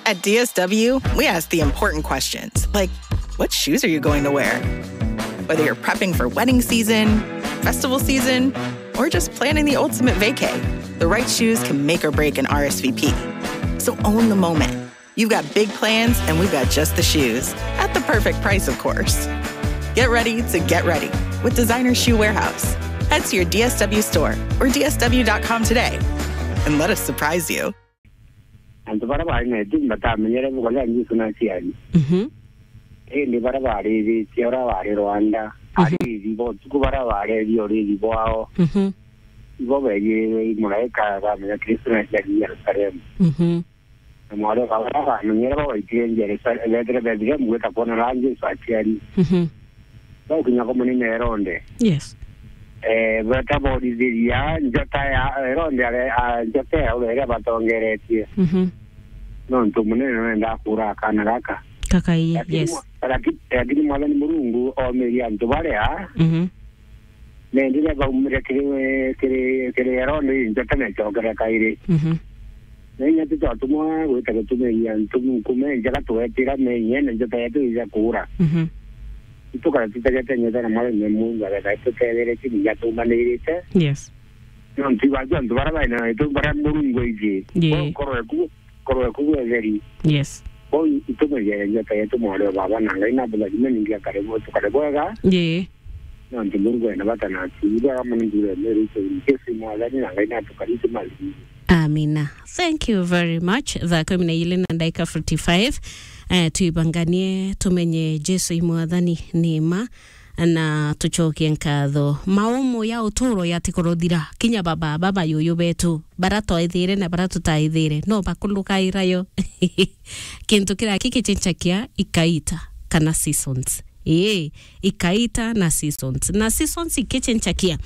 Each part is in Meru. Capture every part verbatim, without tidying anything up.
At D S W, we ask the important questions, like, what shoes are you going to wear? Whether you're prepping for wedding season, festival season, or just planning the ultimate vacay, the right shoes can make or break an R S V P. So own the moment. You've got big plans, and we've got just the shoes at the perfect price, of course. Get ready to get ready with Designer Shoe Warehouse. Head to your D S W store or D S W dot com today and let us surprise you. Antu baria baari na itumbi batamenyere bukoria Jesu na aciari. Mhm. Indi baria baariithitie uria waari Rwanda, Mhm. ariithi bo utuku baria bareethia uriithi bwao, Mhm. ibo beejire muraika bamenya Kristo na aciari Jerusalemu. Mhm. Na mwaria wa baria bamenyere bo baitire Jerusalemu, beetire Bethlehemu gwita kwona ria Jesu aciari. Mhm. Baukinya kwa munene Herode. Yes. Eh, beta borithiria njota ya Herode, are, a, njota ya uria batongeretie. Mhm. Nontu munene nwendaa kuura akana gaka. Kakai, Lakini yes. mwa-, laki-, lakini Mwathani Murungu omirie antu baria Mhm. nendire baumire kiri, kiri, kiri Herode, njota necokere kairi. Mhm. Na inya titwatumwa gwita gutumiria antu nkume njega twetira menyene njota yetu ija kuura. Mhm. Itukara tutegete nyota na Mwathani Murungu agetha itutetheretie kinya tumanirite. Yes. Nontu ibaju antu baria baina itu baria Murungu aiji. Yee. Bo korwe ku, korwe ku bwetheri. Yes. Bo itumenyere njota yetu mwaria wa baba na Ngai na bulathime ningi akare bo tukare bwega. Yee. Nontu Murungu ena bata na atu. Ibwega muno ndure meru itu Jesu Mwathani na Ngai na tukari tumathime. Amina. Thank you very much. Thaa kumi na ili na ndaika forty-five. Eh, tuibanganie tumenye Jesu i Mwathani ni ma, na tucokie nkatho. Maumu ya uturo yatikorothira, kinya baba, baba yuyu betu, bara twaithire na bara tutaithire, no bakurukaira yo. Kintu kiria kikichenchakia ikaita kana seasons. Ii, ikaita na seasons. Na seasons ikichenchakia.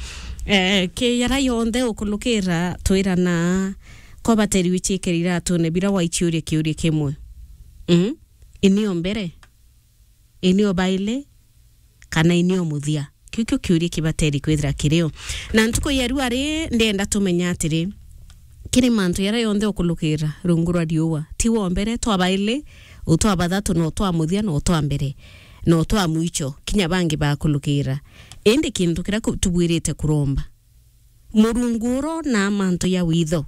Eh, ki yara yonthe ukulukira twirana kwa bateri wichikirira atune bira waichiuria kiuria kimwe. Mm? Inio mbere? Inio baile? Kana inio muthia? Kiu kio kiuria kibateri kwithira kirio. Na ntuku ya rua ri, ndenda tumenya atiri, kiri mantu yara yonthe ukulukira rungu rwa riua, ti wa mbere, twa baili, utwa bathatu, na utwa muthia, na utwa mbere, na utwa mwicho, kinya bangi bakulukira. Indi kintu kiria ku-, tubwirite kuromba, Murungu urona mantu ya witho,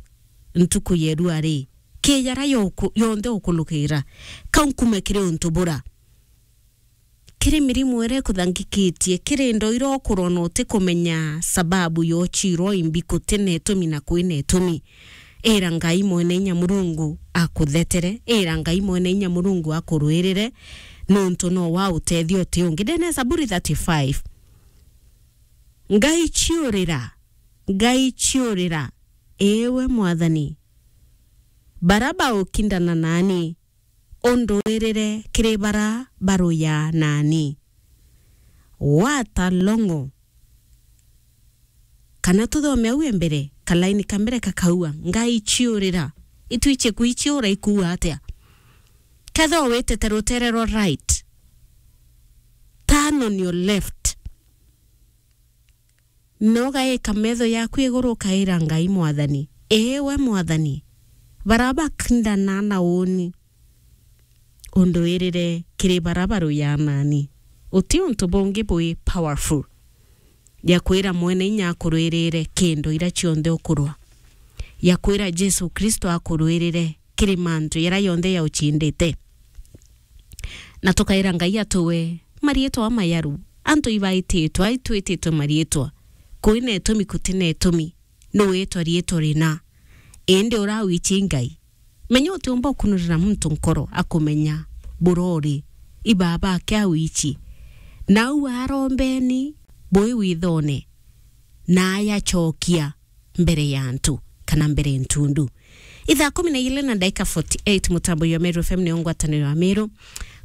ntuku ya rua ri, ki yara yoku-, yonthe ukulukira, kau nkume kiri untu bura. Kiri mirimu iria ikuthangikitie, kiri ndoira ukurwa na utikumenya sababu yochirwa imbi, kutina itumi na kwina itumi. Ira Ngai Mwene Inya Murungu akuthetere, ira Ngai Mwene Inya Murungu akurwirire, nontu no wa utethio uti ungi. Ndene Zaburi thirty-five. Ngai chiurira, Ngai chiurira, iwe Mwathani, bara baukindana nani, unduirire kiri bara baruyaa nani. What a long. Kana tuthome au e mbere, kalaini ka mbere kakaua, Ngai chiurira. Itwichie kwichiura ikuua atia? Kethira witite rutere rwa right, turn on your left. Na ugaika metho yaku iguru, ukaira Ngai Mwathani, "Ii we Mwathani, bara bakindana na uuni, unduirire kiri bara baruyaa nani." Uti untu bungi bwi powerful ya kwira Mwene Inya akurwirire kindu ira cionthe ukurwa, ya kwira Jesu Kristo akurwirire kiri mantu yara yonthe yauchindite. Na tukaira Ngai atuwe mariitwa mayaru. Antu ibaititwe, aitwititwe mariitwa. Kwina itumi, kutina itumi. Nuwitwa riitwa rina. Indi ura wichi Ngai. Menya utiumba ukunurira muntu nkoro akumenya burori. Ibaba ake awichi. Na au arombeni bwi withone. Na ayachokia mbere ya antu, kana mbere ntundu. Ithaa kumi na ili na ndaika forty-eight, mutambo ya Meru F M ni ngwataniro ya Meru.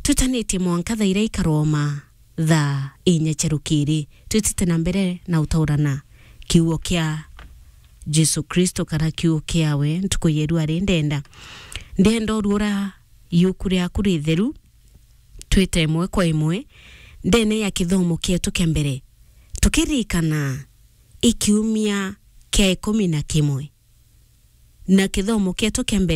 Twitanitie mwanka thaa iria ikaroma thaa inya cia rukiri. Twitite na mbere na utaurana kiugo kia Jesu Kristo, kana kiugo kiawe ntuku yeru ari ndenda. Ndenda uruura yuku riaku ritheru, twite imwe kwa imwe ndene ya kithomo kietu kia mbere, tukirikana i kiumia kia ikumi na kimwe. Na kithomo kietu kia mbere